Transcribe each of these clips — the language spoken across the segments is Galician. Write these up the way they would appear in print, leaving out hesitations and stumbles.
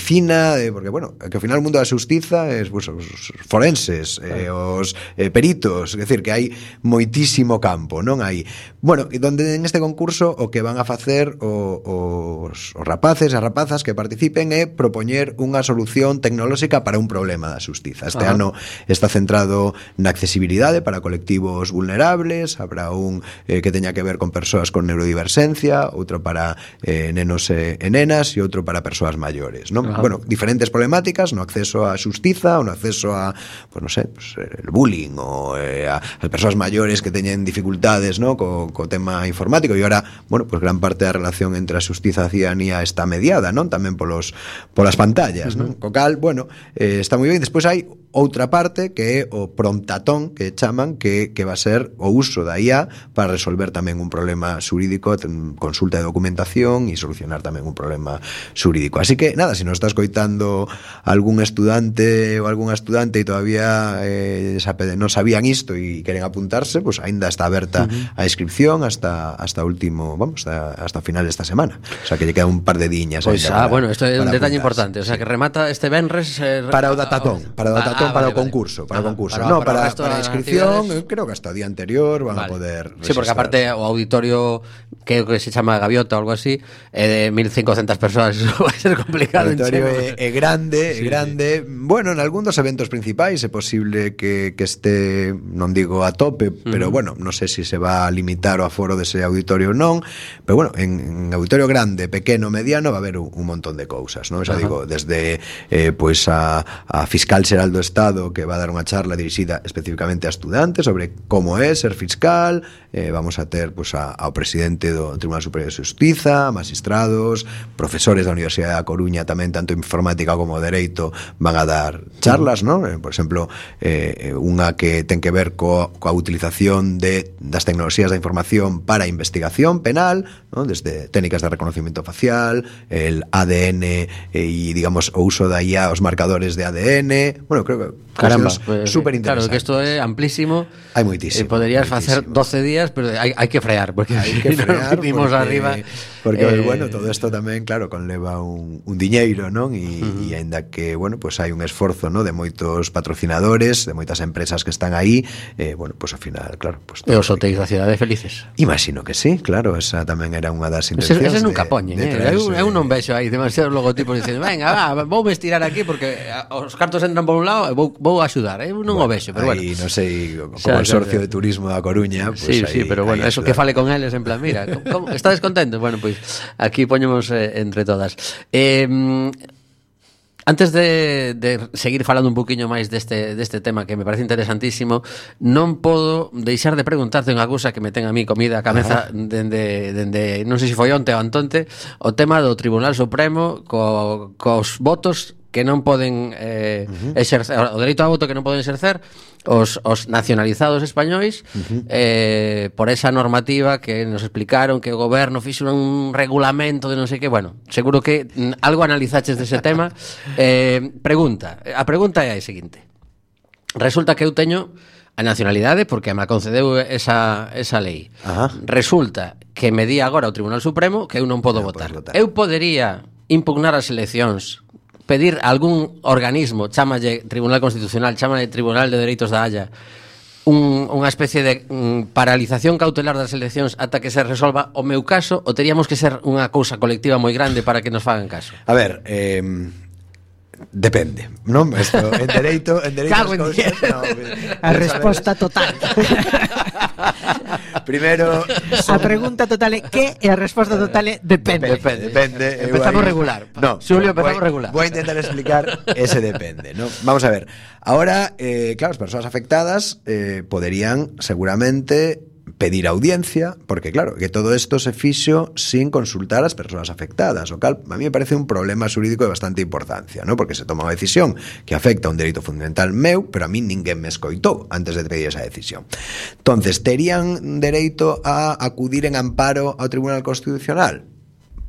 medicina, porque, bueno, que ao final o mundo da xustiza é, pues, os forenses, os peritos, é dicir, que hai moitísimo campo, non hai. Bueno, donde en este concurso o que van a facer os rapaces e as rapazas que participen é propoñer unha solución tecnolóxica para un problema da xustiza. Este ano está centrado na accesibilidade para colectivos vulnerables, habrá un que teña que ver con persoas con neurodiversencia, outro para nenos e nenas e outro para persoas maiores, non? Bueno, diferentes problemáticas no acceso á xustiza ou no acceso a, pues non sei, pues, el bullying ou as persoas maiores que teñen dificultades, non, co tema informático, e ahora, bueno, pues gran parte da relación entre a xustiza e a ciudadanía está mediada, non? Tamén polas pantallas, non? Co cal, bueno, está moi ben. Despois hai outra parte que é o promptatón, que chaman, que va a ser o uso da IA para resolver tamén un problema xurídico, consulta de documentación e solucionar tamén un problema xurídico. Así que, nada, se nos está escoitando algún estudante ou algunha estudante e todavía non sabían isto e queren apuntarse, pues aínda está aberta a inscripción hasta último, vamos, hasta o final desta semana. O sea, que lle queda un par de diñas. Pois, bueno, isto é un detalle importante, o sea, que remata este venres para o datatón, para o concurso, para a inscripción, creo que hasta o día anterior van a poder registrar. Sí, porque aparte o auditorio que se chama Gaviota ou algo así, é de 1.500 persoas, eso vai ser complicado. O auditorio é grande, grande. Bueno, en algún dos eventos principais é posible que este, non digo a tope, pero bueno, non sei se va a limitar o aforo dese auditorio ou non, pero bueno, en auditorio grande, pequeno, mediano, va a haber un montón de cousas, non? Xa digo, desde pois a fiscal xeral do Estado, que va a dar unha charla dirixida especificamente a estudantes sobre como é ser fiscal, vamos a ter pois ao presidente do Tribunal Superior de Xustiza, magistrados, profesores da Universidade da Coruña tamén, tanto informática como dereito, van a dar charlas, non? Por exemplo, unha que ten que ver coa utilización das tecnoloxías da información para a investigación penal, non? Desde técnicas de reconocimiento facial, el ADN e, digamos, o uso da IA, os marcadores de ADN. Bueno, creo que caramba, super interesantes. Claro, que isto é amplísimo. Hai moitísimo. Poderías facer 12 días, pero hai que frear, porque hai que frear, porque, arriba. Porque bueno, todo isto tamén, claro, conleva un diñeiro, non? E aínda que, bueno, pues hai un esforzo, ¿no?, de moitos patrocinadores, de moitas empresas que están aí, bueno, pues ao final, claro, pues e os hotéis da cidade felices. Imagino que sí, claro, esa tamén era unha das intencións. Ese nunca poñen, eu non vexo aí demasiados logotipos dicendo, venga, vou estirar aquí porque os cartos entran por un lado e vou axudar, eu non o vexo, pero bueno. Aí, non sei, como consorcio de turismo da Coruña, pues sí, pero bueno, eso que fale con eles en plan, mira, estades contentos? Bueno, pois aquí poñemos entre todas. Antes de seguir falando un poquinho máis deste tema que me parece interesantísimo, non podo deixar de preguntarte unha cousa que me ten a mí comida a cabeza dende non sei se foi onte ou antonte, o tema do Tribunal Supremo cos votos que non poden exercer, o dereito a voto que non poden exercer os nacionalizados españois por esa normativa que nos explicaron que o goberno fixo un regulamento de non sei que, bueno, seguro que algo analizaches dese tema. A pregunta é a seguinte: resulta que eu teño a nacionalidade porque me concedeu esa lei. Resulta que me di agora o Tribunal Supremo que eu non podo votar. Eu podería impugnar as eleccións, pedir a algún organismo, chámalle Tribunal Constitucional, chámalle Tribunal de Dereitos da Haya, unha especie de paralización cautelar das eleccións ata que se resolva o meu caso, ou teríamos que ser unha cousa colectiva moi grande para que nos fagan caso? A ver, depende, non? Esto, en dereito cago en cousas, no, a resposta total. Primeiro, a pregunta total é que e a resposta total é depende. Empezamos regular. No, Xulio, empezamos regular. Voy a intentar explicar ese depende, ¿no? Vamos a ver. Ahora, claro, as persoas afectadas poderían seguramente pedir audiencia, porque claro, que todo isto se fixo sin consultar as persoas afectadas, o cal a mí me parece un problema xurídico de bastante importancia, ¿no? Porque se toma unha decisión que afecta a un dereito fundamental meu, pero a mí ninguén me escoitou antes de pedir esa decisión. Entonces, terían dereito a acudir en amparo ao Tribunal Constitucional?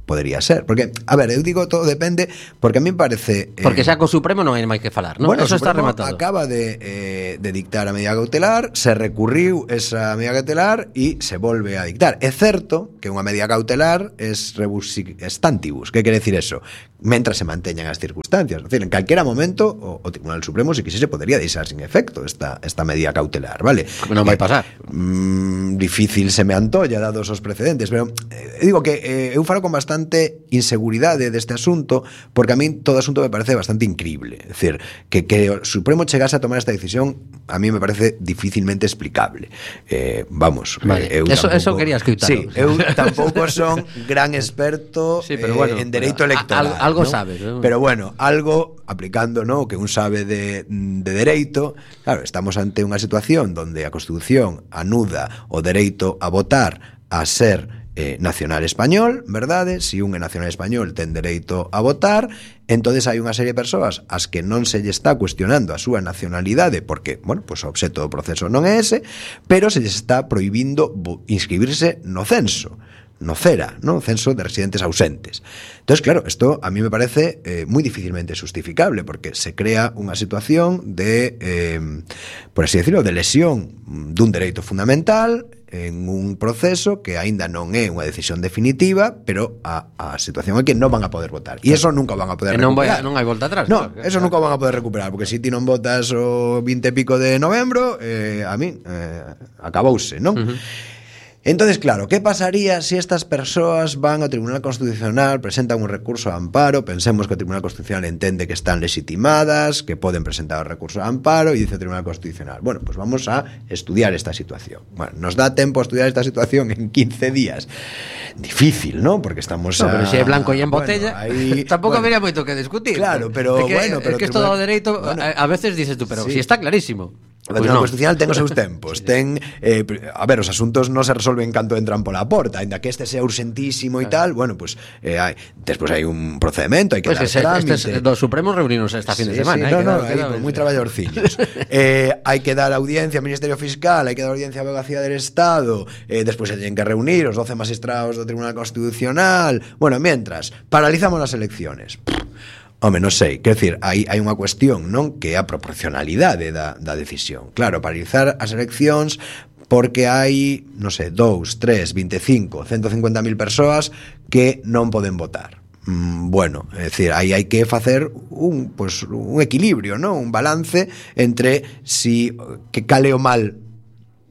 podería ser. Porque, a ver, eu digo todo depende, porque a mí me parece... Porque xa co Supremo non hai máis que falar, non? Bueno, Eso está Supremo rematado. acaba de dictar a medida cautelar, se recurriu esa medida cautelar e se volve a dictar. É certo que unha medida cautelar es rebus stantibus. Que quere decir eso? Mentras se manteñan as circunstancias. Es decir, en calquera momento o Tribunal Supremo, se quixese, podería deixar sin efecto esta medida cautelar, vale? Non vai pasar. Difícil se me antolla, dados os precedentes, pero digo que eu falo con bastante inseguridade deste asunto, porque a mí todo asunto me parece bastante incrible. É dicir, que o Supremo chegase a tomar esta decisión a mí me parece dificilmente explicable. Vamos, vale. Eu eso quería escutar. Sí, eu tampouco son gran experto sí, pero bueno, en dereito electoral. Algo ¿no? sabes, ¿no? Pero bueno, algo aplicando, ¿no?, que un sabe de dereito. Claro, estamos ante unha situación donde a Constitución anuda o dereito a votar a ser nacional español, verdade? Si un é nacional español ten dereito a votar, entonces hai unha serie de persoas ás que non se lle está cuestionando a súa nacionalidade porque, bueno, pues o obxecto do proceso non é ese, pero se lles está prohibindo inscribirse no censo, no CERA, ¿no? Censo de residentes ausentes. Entonces, claro, esto a mí me parece muy difícilmente justificable porque se crea unha situación de, por así decirlo, de lesión dun dereito fundamental en un proceso que aínda non é unha decisión definitiva, pero a situación é que non van a poder votar. E eso nunca van a poder recuperar. Non hai volta atrás. No, eso nunca van a poder recuperar, porque se ti non votas o 20 e pico de novembro, a mí acabouse, non? Entonces, claro, ¿qué pasaría si estas persoas van ao Tribunal Constitucional, presentan un recurso de amparo? Pensemos que o Tribunal Constitucional entende que están legitimadas, que poden presentar o recurso de amparo, e dice o Tribunal Constitucional, bueno, pues vamos a estudiar esta situación. Bueno, nos dá tempo a estudiar esta situación en 15 días. Difícil, ¿no? Porque estamos no, pero se é blanco e en botella, ahí, tampouco habría moito que discutir. Claro, pero é que, bueno, pero é que isto do dereito, a veces dices tú, pero sí, si está clarísimo. O Tribunal Constitucional ten os seus tempos, ten, a ver, os asuntos non se resolven canto entran pola porta, ainda que este sea urgentísimo e tal, bueno, pues despois hai un procedemento, hai que dar trámite. Dos Supremos reunimos esta fin de semana. Sí, hai moi traballadorcillos. Hai que dar audiencia ao Ministerio Fiscal, hai que dar audiencia á Abogacía del Estado, despois se teñen que reunir os 12 magistrados do Tribunal Constitucional. Bueno, mientras, paralizamos as elecciones. Home, non sei, quer decir, hai unha cuestión, non, que é a proporcionalidade da decisión. Claro, paralizar as eleccións porque hai, non sei, 2, 3, 25, 150.000 persoas que non poden votar. Bueno, é dicir, aí hai que facer un equilibrio, non? Un balance entre si que cale o mal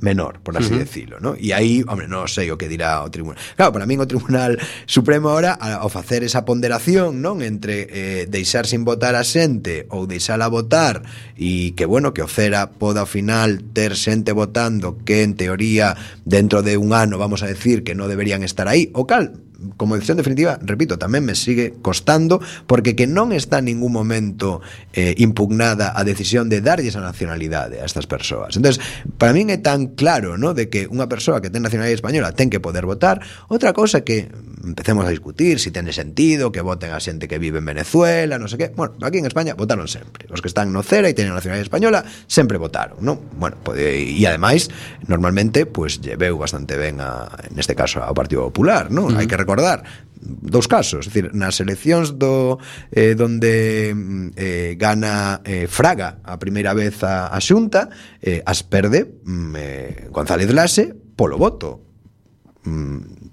menor, por así decirlo, ¿no? E aí, hombre, non sei o que dirá o tribunal. Claro, para min o Tribunal Supremo ahora ao facer esa ponderación, non, entre deixar sin votar a xente ou deixala votar e que, bueno, que o CERA poda ao final ter xente votando que en teoría dentro de un ano vamos a decir que non deberían estar aí, o cal como decisión definitiva, repito, tamén me sigue costando porque que non está en ningún momento impugnada a decisión de darlles a nacionalidade a estas persoas. Entonces, para min é tan claro, ¿no?, de que unha persoa que ten nacionalidade española ten que poder votar. Outra cosa que empecemos a discutir si ten sentido que voten a xente que vive en Venezuela, non sei que. Bueno, aquí en España votaron sempre. Os que están no CERA e teñen nacionalidade española sempre votaron, ¿no? Bueno, e ademais, normalmente, pues lleveu bastante ben neste caso ao Partido Popular, ¿no? Hai que recordar dous casos, é dicir, nas eleccións donde gana Fraga a primeira vez a Xunta, as perde González Laxe polo voto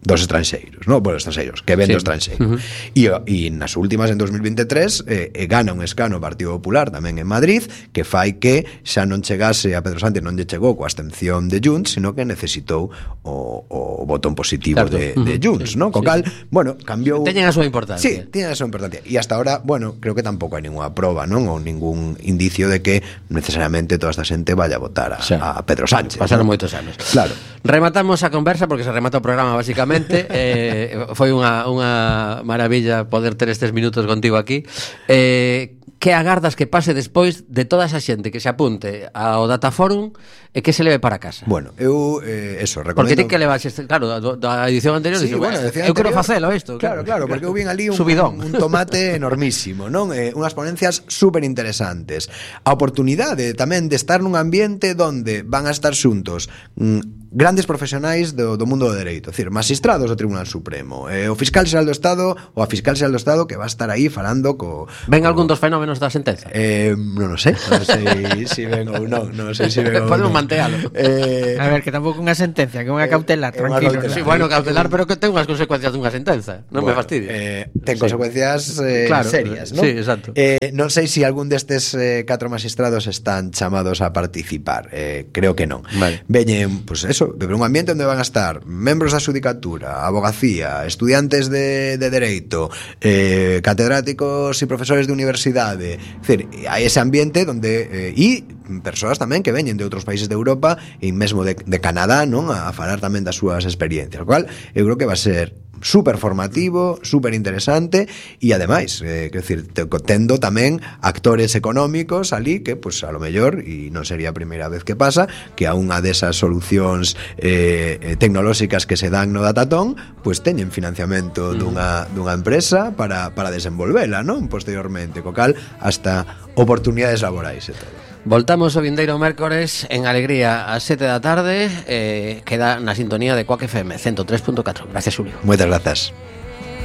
dos estranxeiros, no, bueno, estranxeiros, que ven do estranxeiro. E nas últimas, en 2023, gana un escano o Partido Popular tamén en Madrid, que fai que xa non chegase a Pedro Sánchez, non lle chegou coa abstención de Junts, sino que necesitou o botón positivo de Junts, ¿no? Co cal, bueno, cambiou. Teñen a súa importancia. Sí, teñen a súa importancia. E hasta ahora, bueno, creo que tampouco hai ninguna proba, non? Ou ningún indicio de que necesariamente toda esta xente vaya a votar a Pedro Sánchez. Pasaron moitos anos. Claro. Rematamos a conversa porque se remata o programa basicamente. Foi unha maravilla poder ter estes minutos contigo aquí. Que agardas que pase despois de toda esa xente que se apunte ao Dataforum e que se leve para casa? Bueno, eu eso, recomendo. Porque ti que levas, claro, da edición anterior, sí, dices, bueno, eu quero facelo isto. Claro, porque eu vin ali un tomate enormísimo, non? Unhas ponencias super interesantes. A oportunidade tamén de estar nun ambiente donde van a estar xuntos grandes profesionais do mundo do dereito, é dicir, magistrados do Tribunal Supremo, o fiscal xeral do Estado ou a fiscal xeral do Estado que va a estar aí falando Ven algún dos fenómenos da sentenza? Non sei se ven ou non sei se ven ou Podemos non. mantealo. A ver, que tampouco unha sentencia, que unha cautelar, tranquilo. cautelar. Sí, bueno, cautelar, pero que ten unhas consecuencias dunha sentenza. Non me fastidies. Ten consecuencias Claro, serias, non? sí, exacto. Non sei se algún destes 4 magistrados están chamados a participar. Creo que non. Vale. Veñen, pues eso, de un ambiente onde van a estar membros da xudicatura, abogacía, estudiantes de dereito, catedráticos e profesores de universidade. É dicir, hai ese ambiente onde e persoas tamén que veñen de outros países de Europa e mesmo de Canadá, non, a falar tamén das súas experiencias, o cual eu creo que va a ser super formativo, super interesante e ademais, quero dicir, tendo tamén actores económicos ali que, pues, a lo mellor, e non sería a primeira vez que pasa, que a unha desas solucións tecnolóxicas que se dan no Datatón, pues teñen financiamento dunha empresa para desenvolvela, non? Posteriormente, co cal hasta oportunidades laborais e todo. Voltamos o vindeiro mércores en Alegría ás 7 da tarde. Queda na sintonía de Quack FM 103.4. Gracias, Julio. Moitas grazas.